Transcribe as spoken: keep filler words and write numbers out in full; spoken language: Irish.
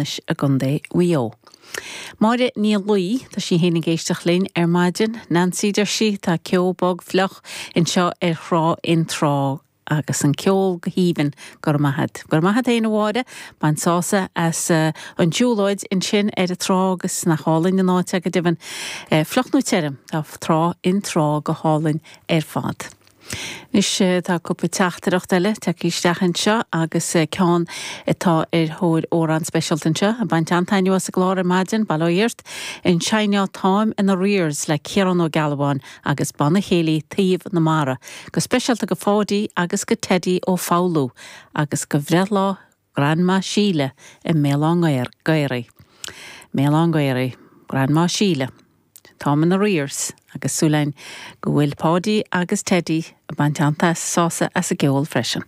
i gContae Mhaigh Eo. Máire Ní Luí tá sí féin ag éisteacht linn ar maidin, Nancy deir sí tá ceo bog fliuch anseo ar thrá in trá agus an ceol go haoibhinn go raibh maith agat. Go raibh maith agat féin a Mháire, bain sásamh as uh, an tsiúlóid ansin ar an trá agus nach álainn an áit go deimhin uh, fliuch nó tirim tá trá in trá go hálainn ar fad. Anois tá cúpla teachtaireacht eile tagtha isteach anseo agus ceann atá ar thóir amhrán speisialta anseo, ag baint an-taitneamh as an gclár ar maidin bail ó Dhia ort an seinneá Táim in arrears le Ciarán Ó Gealbháin agus Banna Céilí Taobh na Mara, go speisialta go Pháidí agus go Teddy ó Foghlú agus go bhreithlá Grandma Síle i mBéal Átha Ghaorthaidh. Béal Átha Ghaorthaidh, Grandma Síle. Táim in arrears agus súil againn go bhfuil Páidí agus Teddy ag baint an-sásamh as an gceol freisin.